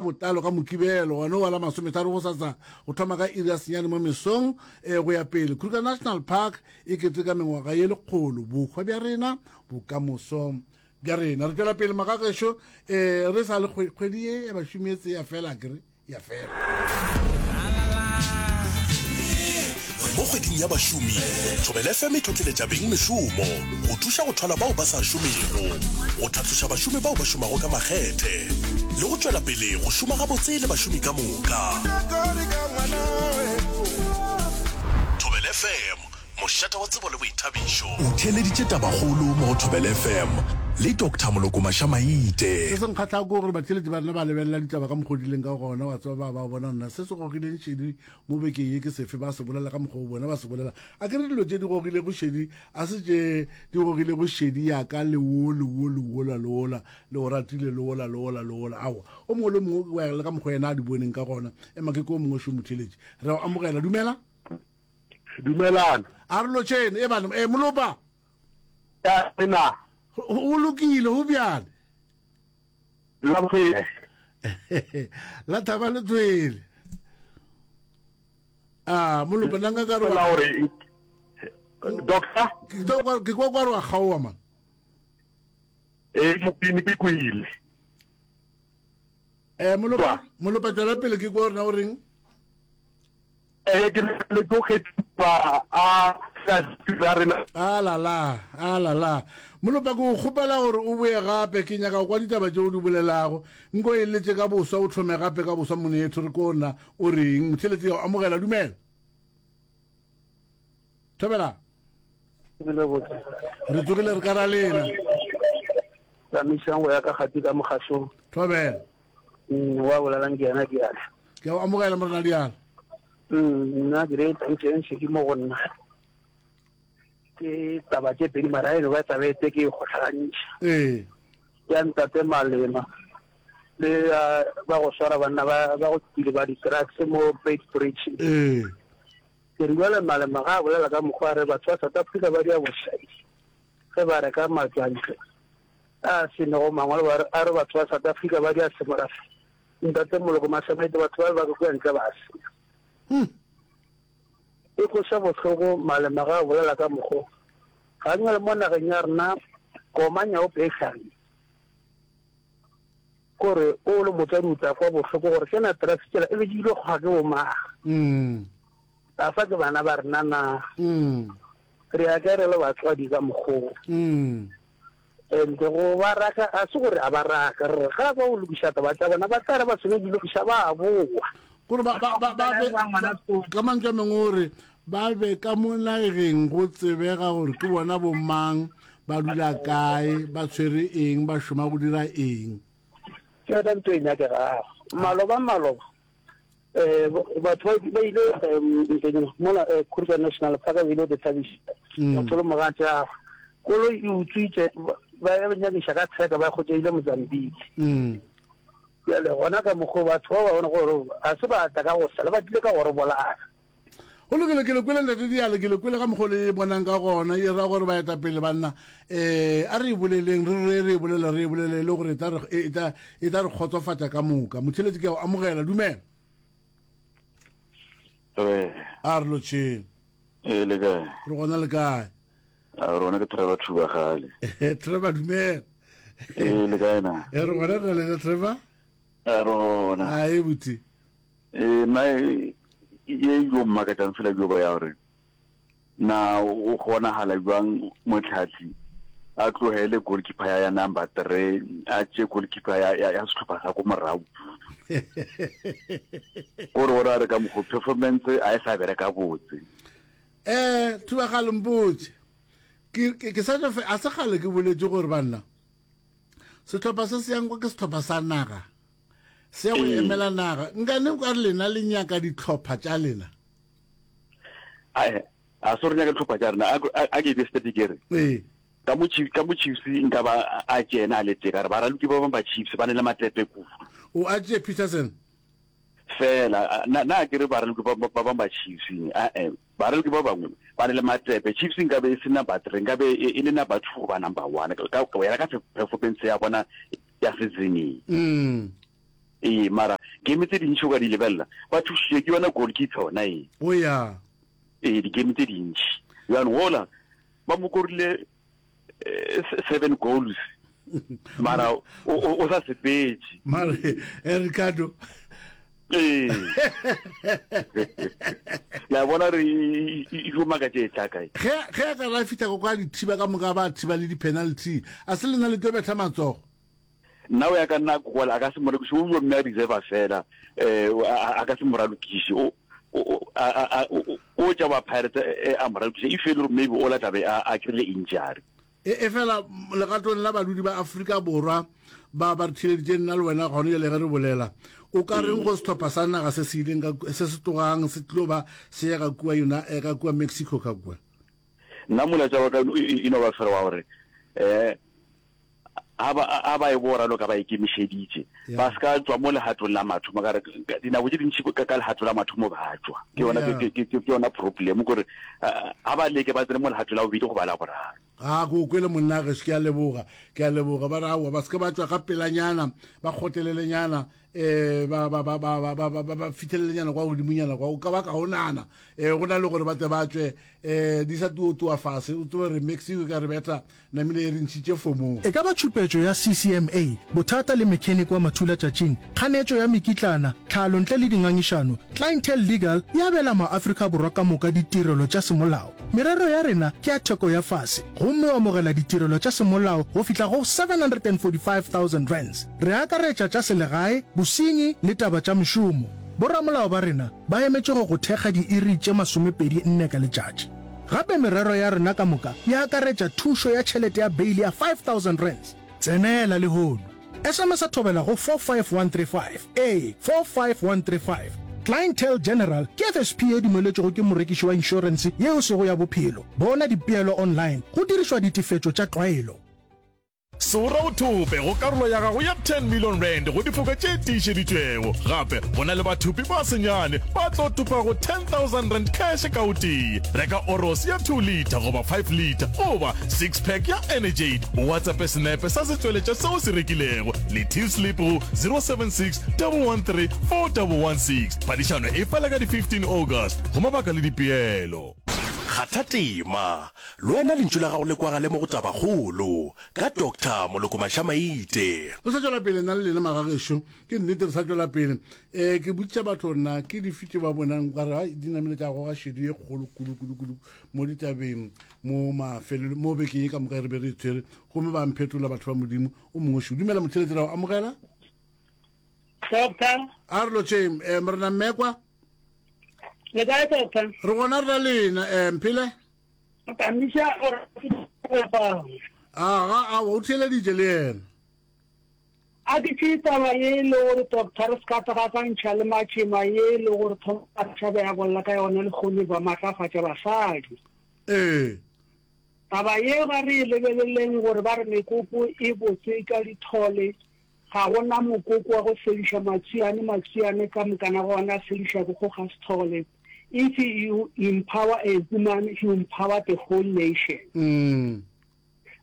botlalo ka Mokibelo gona wa la masometharo gosasa go thoma ka iri ya senyane mo mesong e go ya pele. Kruger National Park e keteka mengwaga ye lekgolo. Bohwa bja rena, bokamoso bja rena. Re tšwela pele magagešo um re sa le kgwedi ye ya bašomi e tseya fela akere ya fela. Mo kgweding ya bašomi, Thobela FM e tlhotleletša beng mešomo go thuša go thwala bao ba sa šomego, go tlhatloša bašomi bao ba šomago ka makgethe le go tšwela pele go šoma gabotse le bašomi ka moka. Thobela FM, Mošate wa tsebo le boithabišo. O theeleditše Tabakgolo mo go Thobela FM le Doctor Moloko Mašamaite. Se se nkgahlago ke gore batheeletši ba rena ba lebelela ditaba ka mokgwa o di leng ka gona, wa tseba, ba ba bona nna se se gogileng šedi mo bekeng ye ke sefe, ba se bolela ka mokgwa o bona ba se bolela. A ke re dilo tše di gogilego šedi a se tše di gogilego šedi ya ka le wo le wo le wola le wola le o ratile le wola le wola le wola. Aowa, o mongwe le mongwe o ya le ka mokgwa yena a di boneng ka gona. Ema ke ke o mongwe šo motheeletši. Re a o amogela. Dumela. Dumelang. A re lotšheng, e bana, e molopa. Ya rena. O lokile, go bjale. La bogele. La thaba le tswele. Ah, molopa nna nka ka re wa gore doctor ke kwa kwa re wa kgaowa man. Eh, mopini ke kwile. Eh, molopa, molopa tswela pele ke kwa rena o reng? Ee, ke le tlo kgethiwa a sa rena. A la la, a la la. Molopa ke o kgopela gore o boye gape, ke nyaka go kwa ditaba tše o di bolelago. Nko e letše ka boswa, o thome gape ka boswa monetho re ko na o reng. Motheletsi ya o amogela, dumela. Thobela. Re tsogile re ka ra lena. Tsamaisang go ya ka gati ka mogasong. Thobela. Mm, wa bolelang ke yena Diala. Ke a o amogela morena Diala. Mm, nna ke re tantšeng ke mo go nna. Ke taba tše pedi mara eno ba taba e tse ke e kgotlhagantšha. Ee. Ya ntate Malema le ya ba go swara banna ba ba go kile ba di-drugs mo Beit Bridge. Ee. Ke re jwale Malema ga a bolela ka mokgwa a re batho ba South Africa ba dia bošaedi ge ba reka matswantle. A se nego mangwalo ba re, a re batho ba South Africa ba dia semorafe. Ntate Moloko Masemete batho ba ba ka kua ntle ba senya. Hmm. E kweša bohloko Malema ga a bolela ka mokgo. Ga ngwe mo nageng ya rena koma nyaope e hlagile. Kore o le motswadi o tla kwa bohloko gore ke na drugs tšela e be di ile kgwa ke bomang. Mm. A fa ke bana ba rena na. Mm. Re ya kae re le batswadi ka mokgo. Mm. And go ba raka ga se gore a ba raka, re re ga ba o lokiša taba tša bona ba tla re ba seno di lokiša ba boa. Gore ba ba ba ba be ka mantšu a mangwe o re ba be ka mo nageng go tsebega gore ke bona bo mang, ba dula kae, ba tshwere eng, ba šoma go dira eng. Ke yona ntho e nyakegago. Maloba maloba Eh, batho ba ile um mola eh, Kruger National Park ba ile go thabiša mm. motho le mogatšagwe koloi e utswitše ba nyakiša ka tsheka ba kgotsa ile Mozambique mm. bjale gona ka mokgwa batho ba ba bone gore ga se ba tla ka go sala ba tlile ka gore bolaya go lokile ke le kwele ntate diale ke le kwele ka mokgwa le e bonang ka gona e ra gore baetapele banna um a re e boleleng re re re e bolele re e bolele e le gore e tla re e tla e tla re kgotsofatša ka moka motheletsi ke a o amogela dumela Re. A re lotšheng. Ee, le kae? Re gona le kae? A rona ke Trevor Thubagale. Trevor dumela. Ee, le kae na? Ee, re gona re lena Trevor. A rona. A e buti. Ee, nna e ye yo mmakatšang fela jo ba ya gore Na o kgonagala bjang motlhahli a tlogele goalkeeper ya ya number 3 a tše goalkeeper ya ya, ya sehlopha sa ko morago gore o ra re ka mokgo performance a e sa bereka botse eh thubagalo mpotse ke ke ke sa tšo a se gale ke boletše gore banna sehlopha se se yang kwa ke sehlopha sa naga se ya go emela naga nkane o ka re lena le nyaka dihlopha tša lena A se re nyaka dihlopha tša rena a ke be straight ke re ee ka mo Chiefs ka mo Chiefs nka ba a tšena a le tee ka re baraloki ba bangwe ba Chiefs ba ne le matepe kudu o a tšee Peterson fela na na ke re baraloki ba ba bangwe ba Chiefs a eh baraloki ba bangwe ba ne le matepe Chiefs nka be e se number 3 nka be e le number 2 goba number 1 ka go ya ka performance ya bona ya season mm ee mara Game tse dintši o ka di lebelela, ba thušitšwe ke yona goalkeeper yona e. O ya. Ee, di-game tse dintši. Bjang gola ba mo korile 7 goals mara o sa sepetše. Mare eh, Ricardo ee la bona re e tlo makatše e tla kae ge ge a ka ra fihla ko kwa dithiba ka moka ba thiba le di-penalty a se lena le tlo betha matsogo nna o ya ka nna gola a ka se mo rekiše o yo mme a reserve fela um a ka se mo ralokiše o o tša ba Pirates eh, a mo ralokiše if e le gore maybe o la tlabe a kry-ile injury E, efela legatong la badudi ba Afrika Borwa ba ba re theeleditše nna le wena gone jale ge re bolela, o ka reng go sehlopha sa naga se se ileng ka, se se tlogang se tlo ba se ya ka kua yona, eh, ka kua Mexico ka kua? Nna molaetša wa ka e no ba fela wa gore um ga ba ga ba e bo raloka ba ikemišeditše ba se ka tšwa mo legatong la mathomo ka re dinako tše dintši ka ka legato la mathomo ba tšwa ke yona ke ke ke yona problem gore ga ba leke ba tsene mo legato la bobedi goba la boraro. A ko kwele monna gešo, ke a leboga, ke a leboga. Ba re aowa, ba se ke ba tšwa ka pelanyana, ba kgotlelelenyana, um ba ba ba ba ba ba ba ba fihlelelenyana kwa godimonyana kwa, o ka ba kaonana um go na le gore ba tle ba tšwe um di sa tuotua fase, o tsebe gore Mexico e ka re betha Namile e re ntšhitše fomong. E ka ba tšhupetšo ya CCMA, bothata le mechanic wa mathulatšatšing, kganetšo ya mekitlana, tlhalo ntle le dingangišano, Clientele Legal e abela maAfrika Borwa ka moka ditirelo tša semolao. Merero ya rena ke ya theko ya fase gomme o amogela ditirelo tša semolao go fihla go R745,000. Re akaretša tša selegae, bosenyi le taba tša mešomo. Boramolao ba rena ba emetše go go thekga diiri tše 24 ka letšatši. Gape merero ya rena ka moka e akaretša thušo ya tšhelete ya beili ya R5000. Tsenela lehono. SMS-a Thobela go 45135. Ee, 45135. Clientele General ke FSP ye dumeletšwego ke morekiši wa inšorense ye e sego ya bophelo. Bona dipeelo online go dirišwa ditefetšo tša tlwaelo. Sora o thope go karolo ya gago ya R10 million go difoka tše tiišeditšwego. Gape go na le bathopi ba senyane ba tlo thopago R10,000 cash ka o tee. Reka Oros ya 2 litre goba 5 litre goba six pack ya Energade. O WhatsAppe senepe sa setšweletšwa se o se rekilego le till slip go 076 113 4116. Phadišano e fela ka di 15 August go mabaka le dipeelo. Kgatha tema, Le wena lentšu la gago le kwagale mo go Tabakgolo ka Doctor Moloko Mashamaite. Re sa tšwela pele nna le lena magagešo, ke nnete re sa tšwela pele. Um ke botšiša batho gore na ke dife tše ba bonang ka re hai di namile tša goga šedi ye kgolo kudu kudu kudu mo ditabeng mo mafelelo mo bekeng ye ka moka re be re e tshwere gomme ba mphetola batho ba Modimo o mongwe šo. Dumela motheletsi ra o amogela. Doctor. A re lotšheng um morena Mmekwa. Le kae doctor? Re gona re na lena um Mphele. Tamiša gore Aga, a o theeleditše le yena. A ke tšee taba ye e le gore doctor re se ka tagakantšha le matšema ye e le gore thoma tšhabe ya bolla ka yona lehono ba matlafatša basadi. Ee. Taba ye ga re e lebeleleng gore ba re mekoko e botse ka dithole, ga go na mokoko wa go sediša matswiane, matswiane ka mokana ga ona a sediša ke go ga sethole. If you empower a woman, you empower the whole nation. Mm.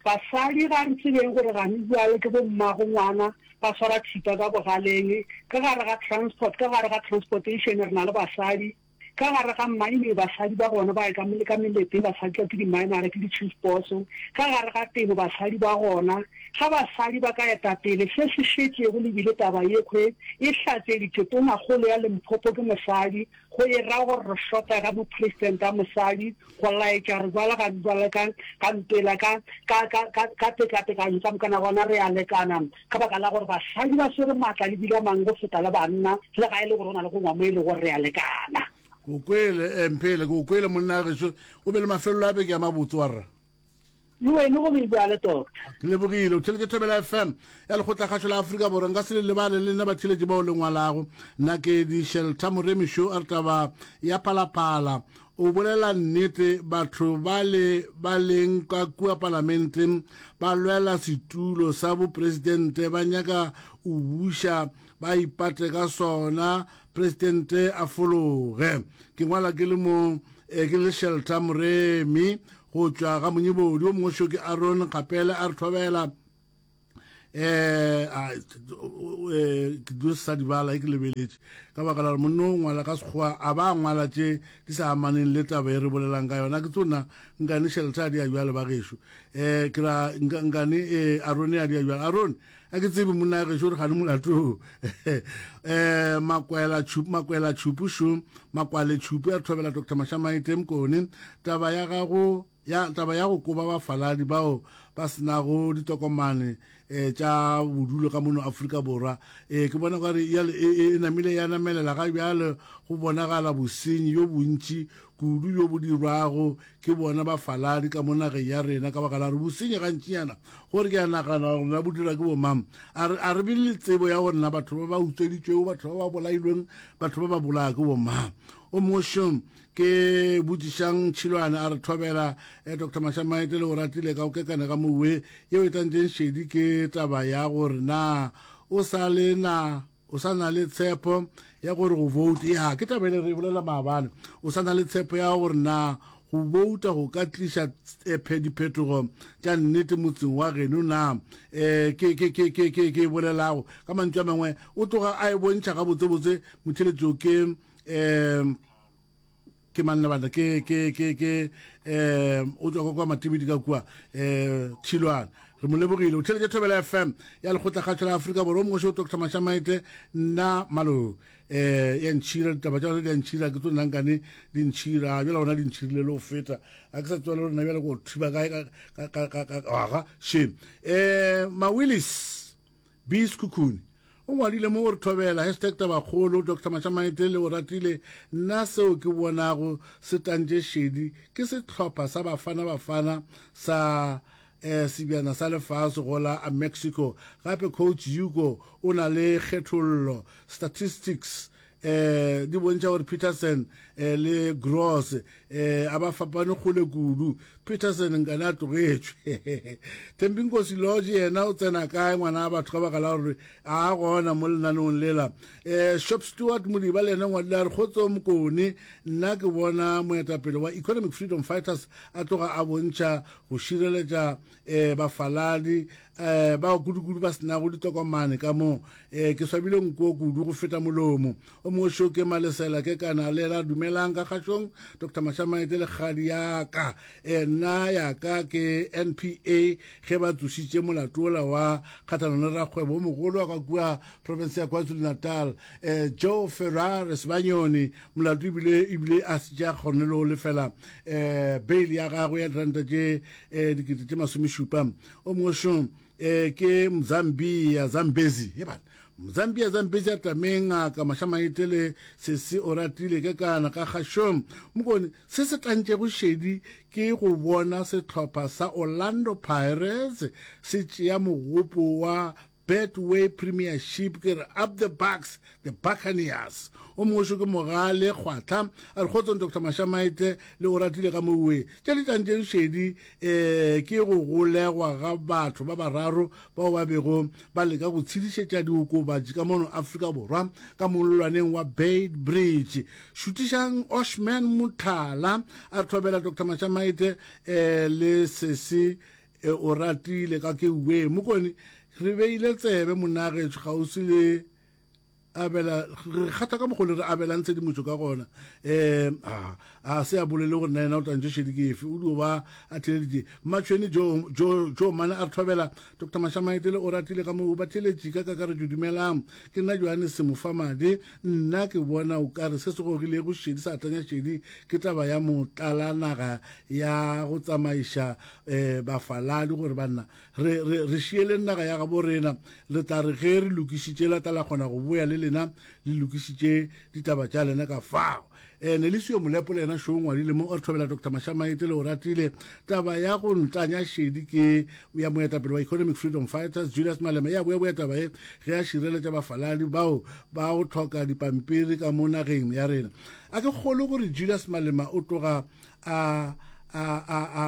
Basadi ga re tsebeng gore gane bjale ke bo mmago ngwana ba swara thipa ka bogaleng, ka gare ga transport, ka gare ga transportation re na le basadi, ka gare ga mining basadi ba gona ba ka ka meleteng basadi ke di-minera ke di-chief boss, ka gare ga temo basadi ba gona. Ga basadi ba ka eta pele se se šetšego le bile taba yekhwe e hlatseditšwe tonakgolo ya Limpopo ke mosadi, Go e ra gore re hlota ga mopresidente a mosadi go laetša re jwale ga jwale ka ka mpela ka ka ka ka ka tekatekanyo ka mokana gona re a lekana ka baka la gore basadi ba swere maatla le bile a mangwe go feta le banna le ga e le gore go na le go ngwa mo e le gore re a lekana. Ke o kwele, eh, Mphele, ke o kwele monna gešo. O be le mafelelo a beke a mabotse wa rra. Le wene go be bjalo, Doctor. Ke lebogile. O theletše Thobela FM ya Lekgotlakgašo la Afrika Borwa. Nka se le lebale le nna batheletši bao le ngwalago. Nakedi Shelter Moremi Šo a re taba ya Phalaphala. O bolela nnete, batho bale ba leng ka kua palamenteng ba lwela setulo sa bopresidente, ba nyaka o buša ba ipate ka sona, presidente a fologe. Ke ngwala ke le mo eh, ke le Shelter Moremi. Go tšwa ga Monyebodi, wo mongwe šo ke Aaron Kgapele a re thobela. Um a ke dio sa di bala e ke lebeletše ka baka la gore monno o ngwala ka sekgowa a ba ngwala tše di sa amaneng le taba e re bolelang ka yona. Ke tsona nkane shelter a di a bjale ba gešo. Um ke ra nkane um Arone a di a bjale. Arone a ke tsebe monna ya gešo gore gane molato um makwela tšhupu makwela tšhupu šo makwale tšhupu ya re thobela Dr. Mashamaite Mokone taba ya gago Ya taba ya go koba bafaladi bao ba se nago ditokomane eh, tša bodulo ka mono Afrika Borwa eh, ke bona gore e, e, e namile ya namelela ga bjale go bonagala bosenyi bjo bontši kudu bjo bo dirwago ke bona bafaladi ka mo nageng ya rena ka baka la gore bosenyi gantšinyana gore ke a nagana gore na bo dira ke bomang a re be le tsebo ya gore na batho ba ba utsweditšwego batho ba ba bolailweng batho ba ba bolaya ke bomang o mongwe Ke botšišang Tšhilwane a re thobela eh, Dr Mashamaite le o ratile ka o kekane ga mowe yeo e tlantšeng šedi ke taba ya gore na o sa le na o sa na le tshepo ya gore go vote ya ke taba ele re e bolela maabane o sa na le tshepo ya gore na go bouta go ka tliša eh, diphetogo tša nnete motseng wa geno na um ke ke ke ke ke ke bolelago ka mantšu a mangwe o tloga a e bontšha gabotsebotse motheletšo ke um ke manna bana ke ke ke ke um o tswa kwa matibidi ka kua um tšhilwana re mo lebogile o theletše thobela fm ya lekgotlakgatšo la aforika borwa o mongwe seo dr mashamaite nna malo um ya ntšhira ditaba tša gone di a ntšhira ke tlo nnankane di ntšhira bjala gona di ntšhirile le go feta a ke sa tswela le rena bjale ko thiba kae aga shame um mawillis B. Sekhukhune o ngwadile mo gore Thobela, hashtag Tabakgolo, Doctor Mashamaite le Oratile, nna seo ke bonago se tantše šedi ke sehlopha sa Bafana Bafana sa eh, sebjana sa lefase go la Mexico. Gape coach Hugo o na le kgethollo, statistics eh di bontšha gore Peterson eh, le Gross eh a ba fapane kgole kudu. Peterson nkane a tlogetšwe. Thembinkosi Lodge yena o tsena kae ngwana wa batho ka baka la gore a gona mo lenaneong lela. Eh Shop Stewart Modiba le yena ngwadile a re kgotso Mokone, nna ke bona moetapele wa Economic Freedom Fighters a tloga a bontšha go šireletša eh bafaladi eh bao kudu-kudu ba senago ditokomane ka mo eh ke swabile nko kudu go feta molomo o mongwe šo ke malesela ke kana le la dumelang ka kgašong dr mashamaete le kgadi ya ka eh nna ya ka ke npa ge ba tsošitše molato ola wa kgathanong le rakgwebo o mogolo wa ka kua province ya kwazulu-natal eh joe ferrar sebanyoni molato ebile ebile a se tša kgone le go lefela eh bail ya gagwe ya diranta tše eh dikete tše masomešupa O mongwe šo eh, ke Mzambia Zambezi e bana Mzambia Zambezi a tameng ngaka Mashamaite le sesi o ratile ke kana ka kgašong mokone se se tlantšego šedi ke go bona sehlopha sa Orlando Pirates se tšea mogopo wa Betway Premiership ke re up the Bucks the Buccaneers o mongwe šo ke Mogale Kgwatla a re kgotsong Dr Mashamaite le o ratile ka mowe tše di tlantšeng šedi um ke go golegwa ga batho ba bararo bao ba bego ba leka go tshedišetša diokobatši ka mono Afrika Borwa ka mollwaneng wa Beit Bridge šutišang Oshman Mothala a re thobela Dr Mashamaite um le sesi E, o ratile ka ke we mokone re beile tsebe monagetsho kgauswi le abela re kgatha ka mokgole re abelang tshedimošo ka gona um a a se a bolele gore na yena o tantše šedi ke efe o dio ba a theleditše mmatšhweni jo jo jo mane a re thobela dr mashamaetele o ratile ka moo ba theletše ka kakaretšo dumelang ke nna johannes semofamadi nna ke bona o kare se se gogilego šedi sa tanya šedi ke taba ya motlala naga ya go tsamaiša um bafaladi gore banna re, re, re šieleng naga ya gabo rena le tla re ge re lokišitše la tla la kgona go boya le lena le lokišitše ditaba tša lena ka fao um Nelisio Molepo le yena šo ngwadile mo o re thobela Dr Mashamaite le o ratile taba ya go ntanya šedi ke ya moetapele wa Economic Freedom Fighters Julius Malema ya boya boya taba ye ge a šireletša bafaladi bao ba go tlhoka dipampiri ka mo nageng ya rena a ke kgolo gore Julius Malema o tloga a a a a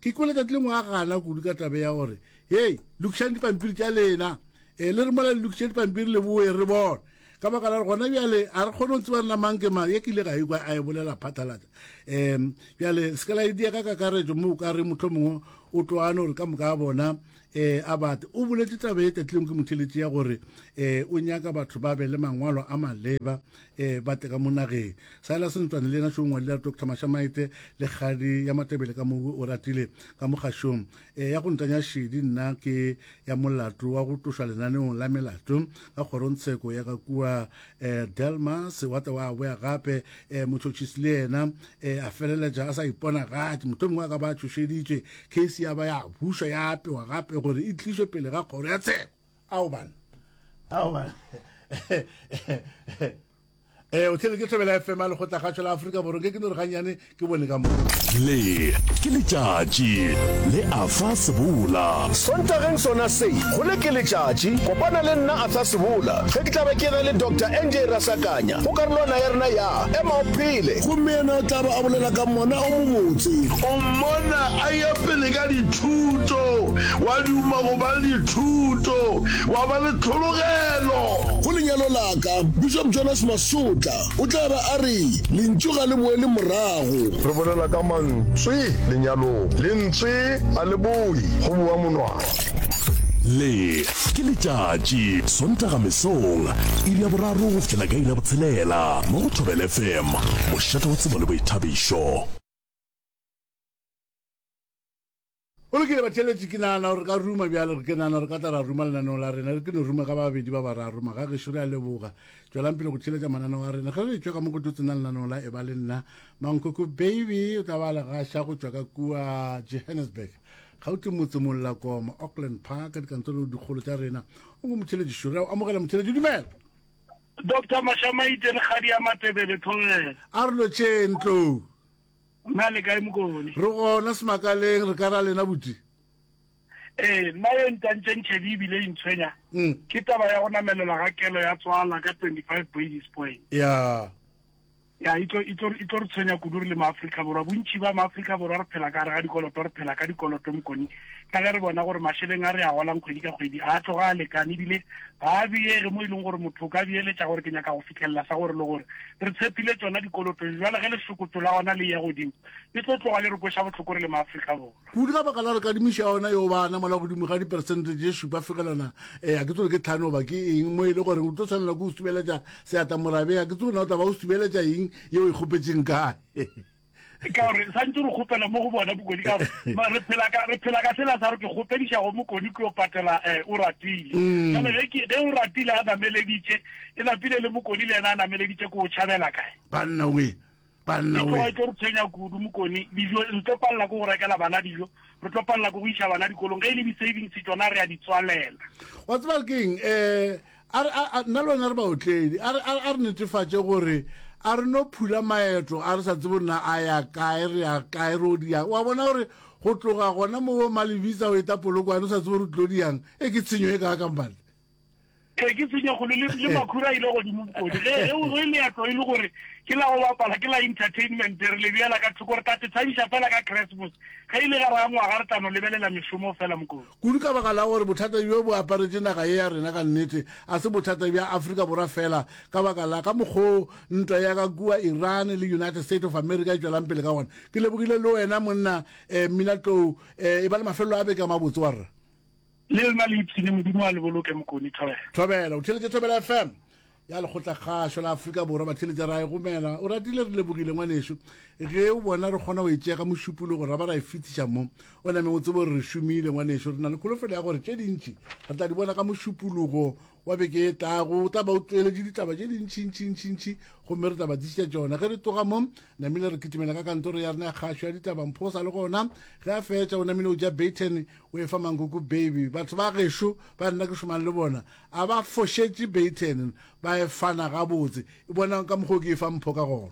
ke kwele tšatši lengwe a gana kudu ka tabe ya gore hei lokišang dipampiri tša lena e le re mola le lokiše dipampiri le boe re bone ka baka la gore gona bjale a re kgone go tseba rena mang ke mang ye ke ile ga ikwa a e bolela phatlalatša um bjale se ka la e dia ka kakaretšo mo o ka re motlho mongwe O tloa no re ka moka ga bona um a bate. O boletše taba ye tatileng ke motheletši ya gore um o nyaka batho ba be le mangwalo a maleba um ba tle ka mo nageng. Silas Ntswane le yena šo ngwadile a re Doctor Mashamaite le kgadi ya Matebele ka mo o ratile ka mo kgašong. E, ya go ntanya šedi nna ke ya molato wa go tlošwa lenaneong la melato ka kgorongtsheko ya ka kua e, Delmas wa tla wa boya gape e, motšhotšhisi le yena e, a feleletša a sa iponagatše motho mongwe a ka ba tšhošeditšwe case ya ba ya bušwa ya apewa gape gore e tlišwe pele ga kgoro ya tsheko. Ao bana, ao bana. Ee, o theeletše Thobela FM ya Lekgotlakgašo la Afrika Borwa. Nke ke no re gannyane ke bone ka mo. Le ke letšatši le Arthur Sebola. Sontageng sona se, go le ke letšatši, kopana le nna Arthur Sebola ge ke tla be ke na le Doctor NJ Rasakanya go karolwana ya rena ya Ema o Phele. Gomme yena o tla ba a bolela ka mona o mobotse. O mmona a eya pele ka dithuto, wa duma go ba le dithuto, wa ba le tlhologelo. Go lenyalo la ka, Bishop Jonas Masotla o tla ba a re, Lentšu ga le boele morago. Re bolela ka mantswe lenyalong. Lentswe ga le boe, go boa monwana. Le ke letšatši, Sontaga mesong, iri ya boraro go fihlela ka iri ya botshelela, mo go Thobela FM, mošate wa tsebo le boithabišo. Go lokile batheeletši, ke nagana gore re ka ruma bjale, ke nagana gore ka tla ra ruma lenaneo la rena, re ke no ruma ka babedi ba bararo. Magagešo re a leboga. Tšwelang pele go theeletša mananeo a rena. Ge re tšwa ka mo go tlo tsena lenaneo la Eba le Nna, Mankoko Baby o tla ba le gaša go tšwa ka kua Johannesburg, Gauteng motse Mollakoma, Auckland Park, ka dikantoro dikgolo tša rena. O mo motheeletši šo, re a o amogela motheeletši, dumela. Doctor Mashamaite le Kgadi ya Matebele Thobela. A re lotšheng Tlou. Nna le kae Mokone? Re gona semakaleng, re ka ra lena buti. Ee, nna ye ntantšeng tšhedi ebile e ntshwenya mm. ke taba ya go namelela ga kelo ya tswala ka 25 basis point. Ya. Ya e tlo e tlo e tlo re tshwenya kudu re le maAfrika Borwa. Bontši ba maAfrika Borwa re phela ka gare ga dikoloto, re phela ka dikoloto Mokone. Ka ge re bona gore mašeleng a re a golang kgwedi ka kgwedi a tloga a lekane ebile ga a beege mo e leng gore motho o ka beeletša gore ke nyaka go fitlhelela sa gore le gore. Re tshepile tšona dikoloto, bjale ge lešokotšo la gona le eya godimo, le tlo tloga le re kweša bohloko re le maAfrika Borwa. Kudu ka baka la gore kadimišo ya ona yo ba namola godimo ga diperesente tše šupa fegelwana, eh, a ke tsebe ke tlhano goba ke eng, mo e le gore o tlo tshwanela ke go subeletša seatla morabeng, a ke tsebe na o tla ba o subeletša eng yeo e kgopetšeng kae. Ka gore santse re kgopela mo go bona Mokoni, ka gore re phela ka, re phela ka sela sa gore ke kgopediša go Mokoni ke yo patela eh, o ratile. Mm. Jale ge ke, ge o ratile a nameleditše, e napile le Mokoni le yena a nameleditše, ke o tšhabela kae? Banna we, banna we. E tloga e tlo re tshwenya kudu Mokoni, dijo re tlo palela ke go rekela bana dijo, re tlo palela ke go iša bana dikolong, ge e le di-savings tšona re a di tswalela. Wa tseba ke eng, eh, A re, a, a, nna le wena re baotledi. A re, a, a re netefatše gore a re no phula maeto a re sa tsebe na a ya kae, re ya kae, re o di yang. Wa bona gore go tloga gona mo Malebisa o eta Polokwane o sa tsebe gore o tlo di yang, e ke tshenyo e kaakang banna. Ee, ke tshenyo kgolo le, le makhura a ile godimo bokodi. Ge, ge, ge leeto e le gore ke la go bapala, ke la entertainment, re le beela ka thoko, re tla te thabiša fela ka Christmas. Ge e le gare ga ngwaga re tla no lebelela mešomo fela Mokodi. Kudu ka baka la gore bothata bjo bo aparetše naga ye ya rena ka nnete a se bothata bja Afrika Borwa fela ka baka la ka mokgoo ntwa ya ka kua Iran le United States of America e tšwelang pele ka gona. Ke lebogile le wena monna eh, Mmina Tlou eh, e ba le mafelelo a beke a mabotse warra. Le lena le ipshine, Modimo a le boloke Mokoni. Thobela. Thobela, o theeletše Thobela FM ya Lekgotlakgašo la Afrika Borwa. Batheeletša ra e gomela. O ratile, re lebogile ngwanešu. Ge o bona re kgona go e tšea ka mošupologo ra ba ra e fetiša mo, o name o tsebe gore re šomile ngwanešu. Re na le kholofelo ya gore tše dintši re tla di bona ka mošupologo wa beke e tlago. O tla ba o tšweletše ditaba tše dintšintšintšintši gomme re tla ba tlišetša tšona. Ge re tloga mo, namile re kitimela ka kantoro ya rena ya kgašo ya ditaba. Mpho o sa le gona. Ge a fetša o namile o ja Baton o e fa Mankoko Baby. Batho ba gešo ba nna ke šomang le bona a ba fošetše Baton, ba e fana gabotse. E bonang ka mokgwa o ke e fa Mpho ka gona.